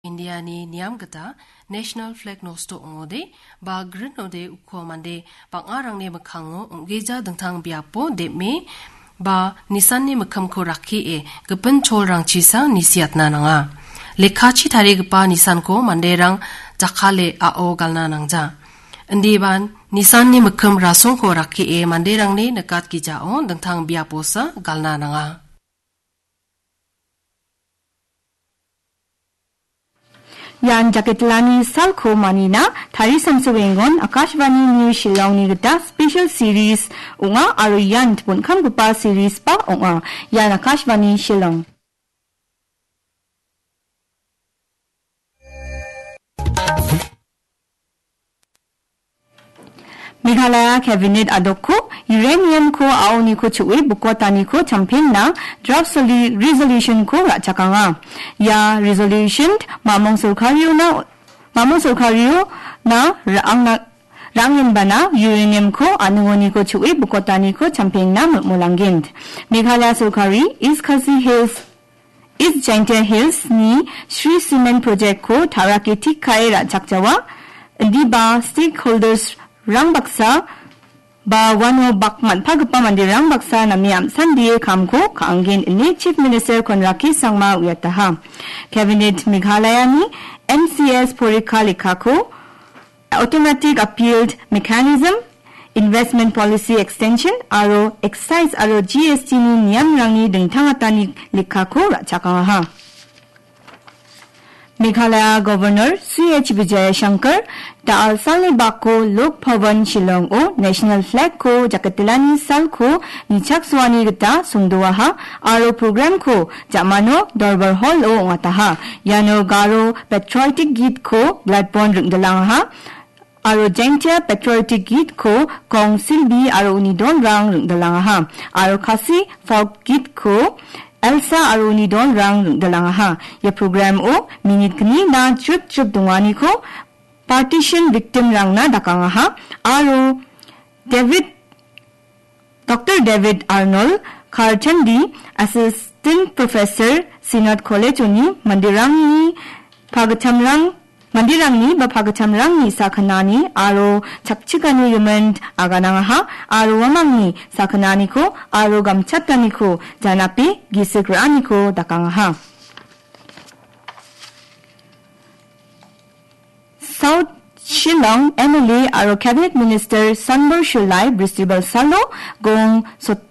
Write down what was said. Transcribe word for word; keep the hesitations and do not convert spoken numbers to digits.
Indiani niam gita national flag nosto ong·ode ba grinode uko mande bang·arangni mikkango ong·gija dingtang biapo dem·e ba nisanni mikkimko rakkie gipin cholrangchisa nisiatna nanga. Lekkachi tarigipa nisanko manderang jakkale a·o galna nangja. Indiban nisanni mikkim rasongko rakkie manderangni nikatgijao dingtang biaposa galna nanga. Ian jaketlani salko manina tarisamsoengon Akashvani News Shillongni gita special series ong·a aro ian bon·kamgipa series ba ong·a. Ian Akashvani Shillong. Meghalaya Cabinet adokko uranium-ko a·oniko chu·e bokotaniko champengna draft soli-, resolution-ko ra·chakanga. Ia resolution mamong sorkariona, mamong sorkariona ra·angna, ra·angenbana uranium-ko a·ningoniko chu·e bokotaniko champengna molmolanggen. Meghalaya sorkari East Khasi Hills East Jaintia Hills-ni Shree Cement Project-ko tarake tik kae ra·chakjawa, indiba stakeholders-rang baksa ba uano bak man·pagipa manderang baksa name am·sandie kamko ka·angen ine Chief Minister Conrad K Sangma uiataha. Cabinet Meghalaya-ni M C S porikha lekkako Automatic Appealed Mechanism, Investment Policy Extension aro Excise aro G S T-ni niamrangni dingtangatani lekkako ra·chakangaha. Meghalaya Governor C H Vijayashankar da·al salni bako Lok Bhavan Shillong-o National Flag-ko jaketelani salko nichaksoani gita songdoaha aro program-ko Jamano Dorbar Hall-o ong·ataha. Iano Garo Patriotic Git-ko Gladbon ringdilangaha. Aro Jaintia Patriotic Git-ko Kong Silbi aro uni dolrang ringdilangaha. Aro Khasi Folk Git-ko Elsa aro uni dolrang ringdilangaha. Ia program-o minit gnina jrip jrip donganiko partition victim-rangna dakangaha. Aro David Doctor David Arnold Karchandi, Assistant Professor, Synod College-oni manderangni pagittamrang, manderangni ba pagittamrangni sakgnani aro chakchigani gimin aganangaha aro uamangni sakgnaniko aro gamchataniko janape gisik ra·aniko dakangaha. South Shillong M L A aro Cabinet Minister Sanbor Shullai Bristibal salo gong sot-,